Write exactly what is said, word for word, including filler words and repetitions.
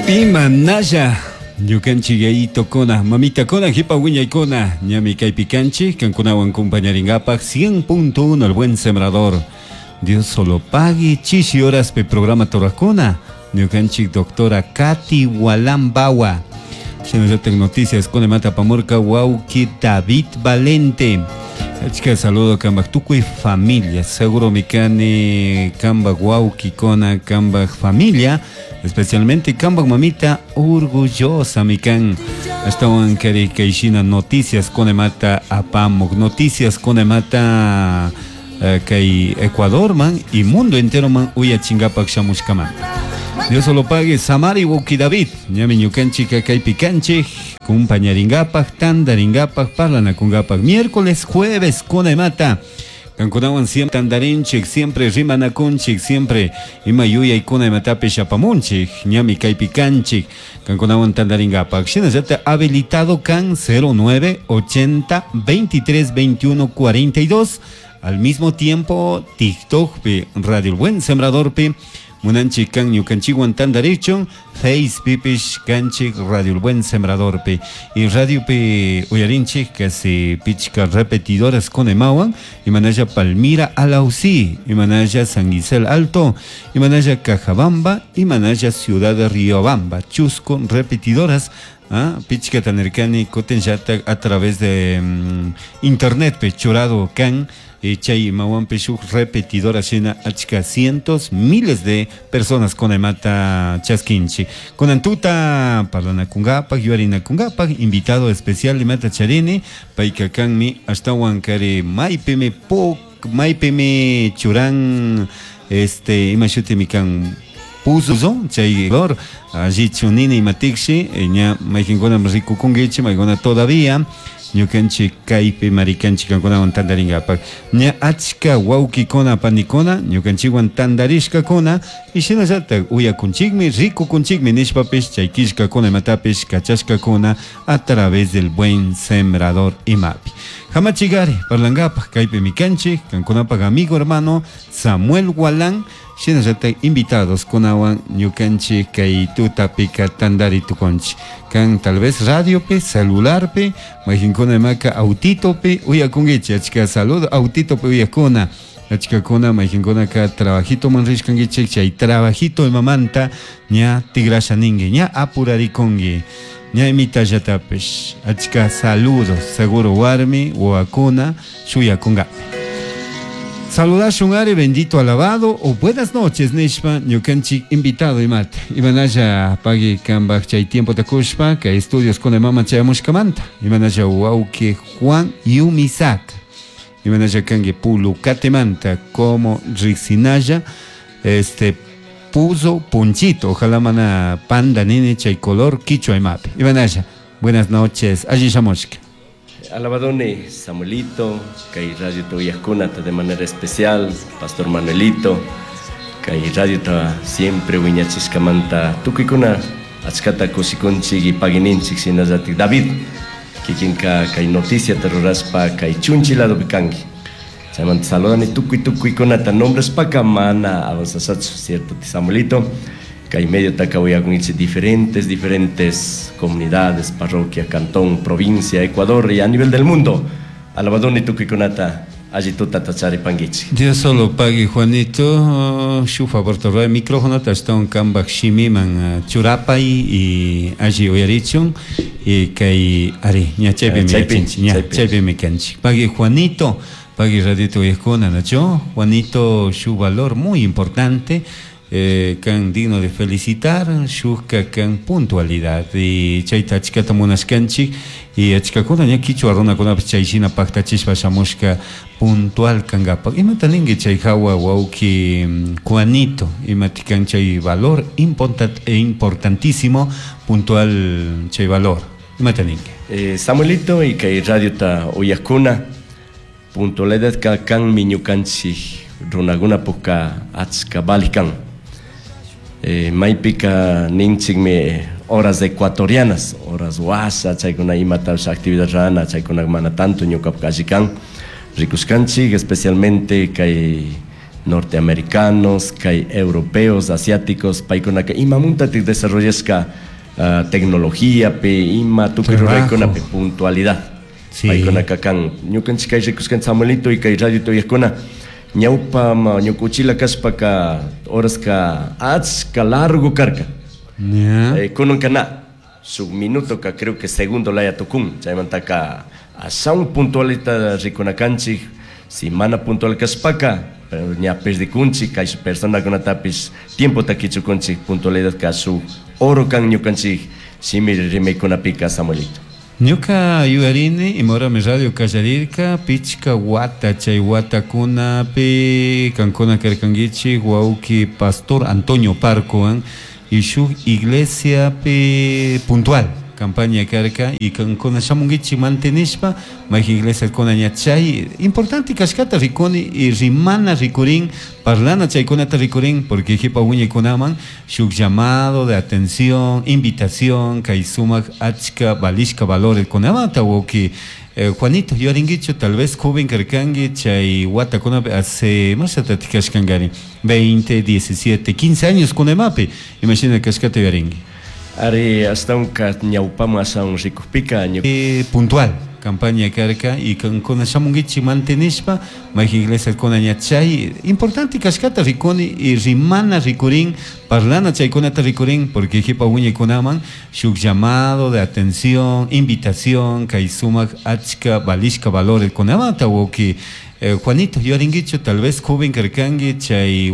Imanalla ñukanchik yayitokuna mamitakuna hipa wiñaykuna ñami kaypi kanchik kankunawan compañarinkapak cien punto uno El Buen Sembrador. Dios solo pague chishi horaspi programa turajkuna ñukanchik doctora Katy Walambawa, shinallatak noticias kunamanta apamurka wawki David Valente. Achka saludo kambak tukuy familia, seguro mi kani kambak wawkikuna, kambak familia, especialmente kambak mamita orgullosa mi kan. Ashtawan kari kayshina noticias kunamanta apamuk, noticias kunamanta eh, kay Ecuador man y mundo entero man uyachingapak shamushkamanta. Dios solo pague Samari wawki David, ñami ñukanchik kaypi kanchik, kumpañaringapak, tandaringapak, parlanakungapak, miércoles, jueves, kunamata. Kankunawan siempre tandarinchik, siempre rimanakunchik, siempre ima yuyaykuna imatapish apamunchik, ñami kaypi kanchik, kankunawan tandaringapak. Shinallata habilitado kan cero nueve ochenta veintitrés veintiuno cuarenta y dos. Al mismo tiempo, TikTok pi, Radio El Buen Sembrador pi, munanchik kan ñukanchikwan tandarichun, Face pipish kanchik Radio El Buen Sembrador pi. Y radio pi uyarinchik casi pichka repetidoras con emawan, imanalla Palmira Alausí, imanalla San Gisel Alto, imanalla Cajabamba, imanalla Ciudad de Riobamba, chusco repetidoras. Ah, pichka tanirkani kutin a través de mm, internet pe churado kan y chay imawanpi shuk repetidora shina achka cientos, miles de personas con emata chaskinchi. Kunan tuta parlanakungapak, yuyarinakungapak, invitado especial imata charini, payka kanmi ashtawan kari maypimi puk, maypimi churan este ima shutimi kan puzo chay color allichu nini imatikshi ña mayqinkuna rikukunkichik, maykuna todavía ñukanchik kaypi marikanchik kankunawan tantarinkapak ña achka wawkikuna panikuna ñukanchikwan tantarishkakuna y shinallatak uyakunchikmi, rikukunchikmi nishpapish chay killkakuna imatapish kachashkakuna a través del Buen Sembrador imapi hamachigari parlankapak kaypimi kanchik kankunapak amigo hermano Samuel Gualán, shinallatak invitados kunawan ñukanchik kay tutapika tantari tukunchik. Kan tal vez radiopi, celularpi, mayqinkuna imaka autitopi uyakunkichik, achka saludo autitopi uyakuna, achkakuna mayqinkunaka trabajitoman rishkankichik, chay trabajito imamanta ña tigrasha ninki, ña apurarikunki, ña imitallatapish achka saludos seguro warmi wawakuna shuyakunkami. Saludashun ari, bendito, alabado o buenas noches nishpa ñukanchik invitado imata. Imanalla pagui kambak chay tiempo takushpa kay estudios con mama chayamushkamanta. Imanalla wawki Juan Yumisak. Imanalla kanki Pulucatemanta como riksinalla este puso punchito. Ojalá mana panda nini chay color quichua imapi. Imanalla, buenas noches. Alli shamushka. Alabadone Samuelito, kay radio ta de manera especial, Pastor Manuelito, kay radio ta siempre wiñachiskamanta tukuykuna achkata kushikunchik y paguininchik shinallatik David, kikinka kay noticia ta rurashpa kay chunchi ladopi kanki. Chaymanta saludani tukuy tukuykunata nombrashpaka mana avanzashachu, cierto Samuelito, kay medio taka uyakunchik diferentes, diferentes comunidades, parroquia, cantón, provincia, Ecuador y a nivel del mundo. Alabadoni tukuykunata alli tutata charipankichik. Dios solo pague Juanito, shu favor torra micrófono ashtawan kambak shimiman churapay y alli uyarichun y kay ari ña chaypimi Chaypi, yachinchik ña chaypi. Chaypimi kanchik. Pagui Juanito, pagui radito uyakuna, ¿no? Juanito su valor muy importante, eh, kan digno de felicitar, shukka kan puntualidad y chayta achkata munashkanchik y achkakuna ña kichwa runakunapish chay shina paktachishpa shamushka puntual kankapak. Imata ninki chay hawa wawki mm, Juanito, imati kan chay valor importan- importantísimo puntual chay valor, imata ninki? Eh, Samuelito y kay radio ta uyakuna puntualidad ka kanmi ñukanchik runakunapukka achka valik kan. Eh, maypika ninchikmi horas ecuatorianas, horas washa, chaykuna imatapish actividad rana, chaykuna mana tanto ñukapuk alli kan. Rikushkanchik especialmente kay Norteamericanos, kay europeos, asiáticos, paykunaka imamuntatik desarrollashka uh, tecnologiapi, ima tukuy ruraykunapi puntualidad. Sí. Paykunaka kan ñukanchik kay rikuskan Samuelito y kay radio tuyakuna ñawpa ñuka uchila kashpaka horaska achka largo karka. Yeah. Eh, kunanka na shuk minutoka creo que segundo laya tukun chaymantaka ashawan puntualita rikunakanchik si mana puntual kashpaka pero ña perdikunchik kay personakunatapish tiempota kichukunchik puntualidad ka shuk oro kan ñukanchik shimi rimaykunapika Samuelito. Ñuka yuyarini imahorami radio kallarirka pichka wata chay watakunapi kankuna karkankichik wawki pastor Antonio Parcowan y shuk iglesiapi puntual campaña karka y kankuna shamunkichik mantenishpa mayjin iglesiakuna ña chay importante kashkata rikuni y rimana rikurin parlana chaykunata rikurin porque jipa wiñaykunaman shuk llamado de atención invitación kay sumak achka valishka valores kunamanta wawki eh, Juanito yuyarinkichu tal vez joven karkanki chay watakunapi hace mashatatik kashkankari veinte, diecisiete, quince años kunamapi imashina kashkata yuyarinki. Ari ashtawanka ñawpaman ashawan rikukpika ñuka Eh, puntual campaña karka y kankuna shamunkichik mantenishpa mayjin iglesiakuna ña chay importante kashkata rikuni y rimana rikurin parlana chaykunata rikurin porque jipa wiñaykunaman shuk llamado de atención invitación kay sumak achka valishka valores kunamanta wawki eh, Juanito yuyarinkichu tal vez joven karkanki chay